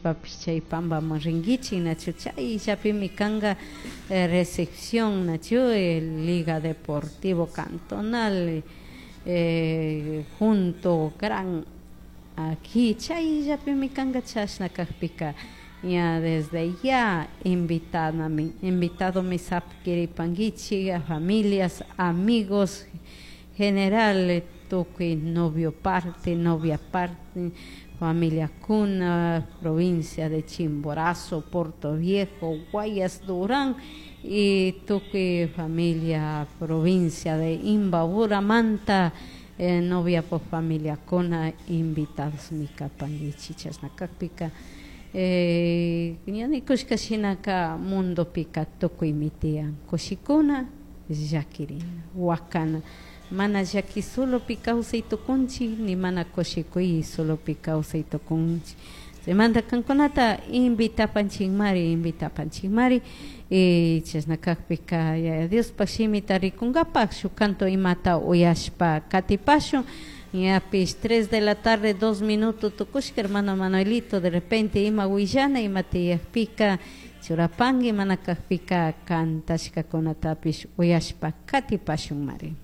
Yachashpapish chay pampaman ringuichik, nachu chayllapimi kanka recepción, nachu Liga Deportivo Cantonal junto Gran Aquí chayllapimi kanka. Chashna kakpika ña desde ya invitanami, invitadomi sapkiripankichik a familias, amigos, general tukuy novio parte, novia parte, familiakuna, provincia de Chimborazo, Portoviejo, Guayas, Durán y tukuy familia provincia de Imbaburamanta, noviapuk familiakuna invitados kapankichik. Chashna kakpika ña nikushka shinaka mundopika tukuymi tiyan kushikuna, llakirina, wakana. Mana llaki solopi kawsay tukunchik, ni mana kushikuy solopi kawsay tukunchik. Chaymanta kankunata invitapanchikmari, invitapanchikmari. Y chashna kakpika Yaya Diospaj shimita rikunkapak shuk canto imata uyashpa katipashun. Ñapish 3 de la tarde 2 minutos tukushka. Hermano Manuelito, de repente ima willana ima tiyakpika churapanki, mana kakpika cantashkakunatapish uyashpa katipashun mari.